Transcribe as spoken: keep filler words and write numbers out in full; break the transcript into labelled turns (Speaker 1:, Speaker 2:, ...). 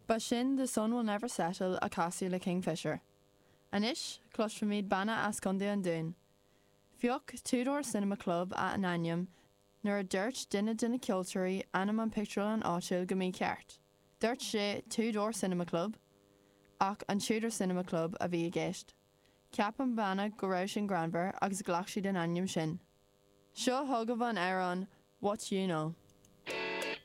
Speaker 1: Ba sin The Sun Will Never Settle a casadh le Kingfisher. Anois cloisfimid banna as Contae an Dúin. Phioc Two Door Cinema Club a n-ainm nuair a dúirt duine de na ceoltóirí ainm an pictiúrlann áitiúil go mícheart. Dúirt sé Two Door Cinema Club ach an Tudor Cinema Club a bhí i gceist. Cheap an banna go raibh sin greannmhar agus ghlac siad an ainm sin. Seo chugaibh an amhrán What You Know.